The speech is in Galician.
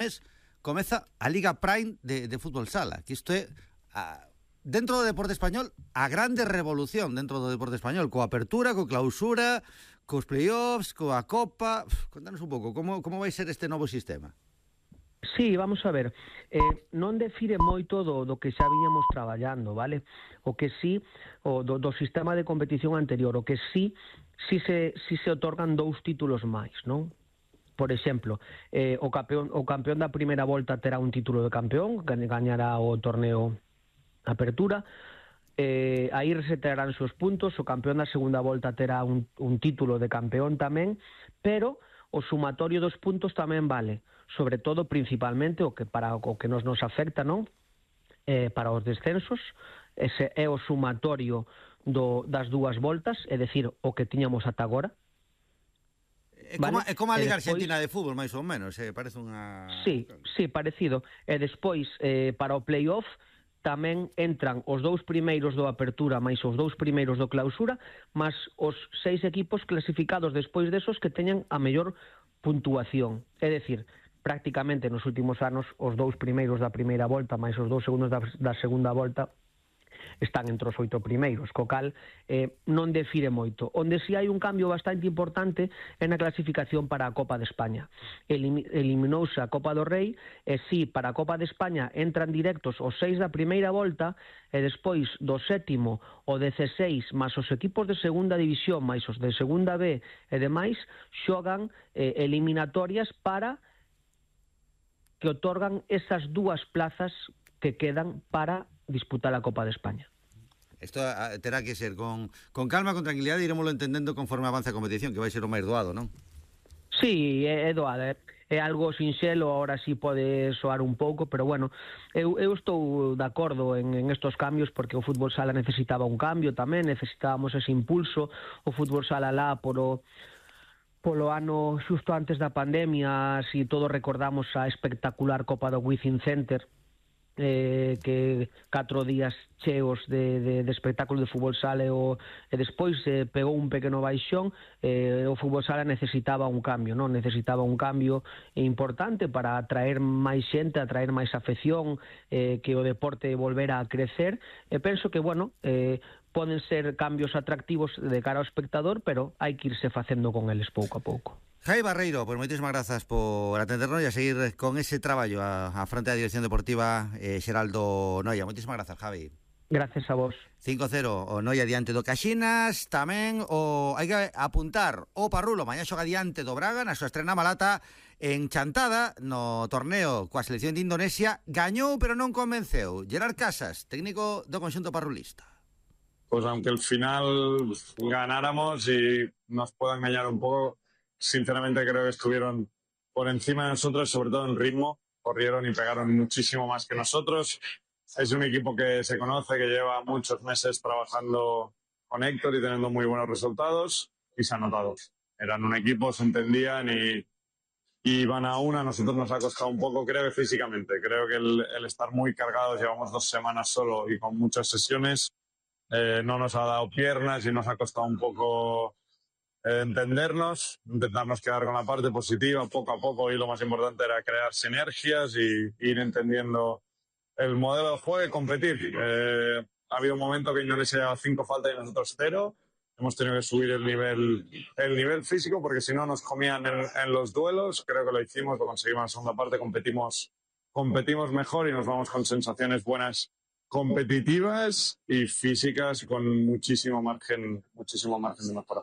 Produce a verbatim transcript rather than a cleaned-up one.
mes comeza a Liga Prime de, de fútbol sala, que isto é a, dentro do deporte español a grande revolución dentro do deporte español, coa apertura, coa clausura, cos playoffs, coa Copa. Contanos un pouco como, como vai ser este novo sistema. Sí, vamos a ver, eh, non defire moito do, do que xa viñamos traballando, vale? O que sí, o do, do sistema de competición anterior, o que sí, sí se, sí se otorgan dous títulos máis, non? Por exemplo, eh, o, campeón, o campeón da primeira volta terá un título de campeón, gañará o torneo Apertura, eh, aí resetarán os puntos, o campeón da segunda volta terá un, un título de campeón tamén, pero o sumatorio dos puntos tamén vale, sobre todo, principalmente, o que para o que nos nos afecta, non? Eh, para os descensos, ese é o sumatorio do, das dúas voltas, é dicir, o que tiñamos ata agora. É como, vale? é como a Liga despois, Argentina de fútbol, máis ou menos, eh, parece unha... Sí, sí, parecido. E despois, eh, para o playoff, tamén entran os dous primeiros do Apertura máis os dous primeiros do Clausura, máis os seis equipos clasificados despois desos que teñan a mellor puntuación. É dicir, prácticamente nos últimos anos os dous primeiros da primeira volta máis os dous segundos da, da segunda volta están entre os oito primeiros, co cal eh, non defire moito. Onde si hai un cambio bastante importante é na clasificación para a Copa de España. Elim eliminouse a Copa do Rei e si para a Copa de España entran directos os seis da primeira volta e despois do sétimo o dezseis máis os equipos de segunda división máis os de segunda B e demais xogan eh, eliminatorias para que otorgan esas dúas plazas que quedan para disputar a Copa de España. Isto terá que ser con, con calma, con tranquilidade, iremoslo entendendo conforme avanza a competición, que vai ser o máis doado, non? Sí, é, é doado, é, é algo sinxelo, ahora sí pode soar un pouco, pero bueno, eu, eu estou de acordo en, en estos cambios, porque o fútbol sala necesitaba un cambio tamén, necesitábamos ese impulso, o fútbol sala lá polo... polo ano xusto antes da pandemia, si todos recordamos a espectacular Copa do Within Center, eh, que catro días cheos de, de, de espectáculo de fútbol sala e, o, e despois eh, pegou un pequeno baixón, eh, o fútbol sala necesitaba un cambio, non? Necesitaba un cambio importante para atraer máis xente, atraer máis afección, eh, que o deporte volvera a crecer, e penso que, bueno, eh, poden ser cambios atractivos de cara ao espectador, pero hai que irse facendo con eles pouco a pouco. Javi Barreiro, pois moitísimas grazas por atendernos e a seguir con ese traballo a, a frente da Dirección Deportiva eh, Xeraldo Noia. Moitísimas grazas, Javi. Gracias a vos. cinco cero o Noia diante do Caxinas. Tamén o hai que apuntar o Parrulo mañá xoga diante do Braga na súa estrena malata en Chantada no torneo coa selección de Indonesia. Gañou pero non convenceu. Gerard Casas, técnico do conxunto parrulista. Pues aunque al final ganáramos y nos puedan engañar un poco, sinceramente creo que estuvieron por encima de nosotros, sobre todo en ritmo, corrieron y pegaron muchísimo más que nosotros. Es un equipo que se conoce, que lleva muchos meses trabajando con Héctor y teniendo muy buenos resultados, y se ha notado. Eran un equipo, se entendían y, y van a una. A nosotros nos ha costado un poco, creo que físicamente. Creo que el, el estar muy cargados, llevamos dos semanas solo y con muchas sesiones, eh, no nos ha dado piernas y nos ha costado un poco eh, entendernos, intentarnos quedar con la parte positiva poco a poco, y lo más importante era crear sinergias y ir entendiendo el modelo de juego y competir. Eh, ha habido un momento que Indonesia lleva cinco faltas y nosotros cero. Hemos tenido que subir el nivel, el nivel físico, porque si no nos comían en, en los duelos. Creo que lo hicimos, lo conseguimos en la segunda parte, competimos, competimos mejor y nos vamos con sensaciones buenas, competitivas y físicas, con muchísimo margen, muchísimo margen de mejora.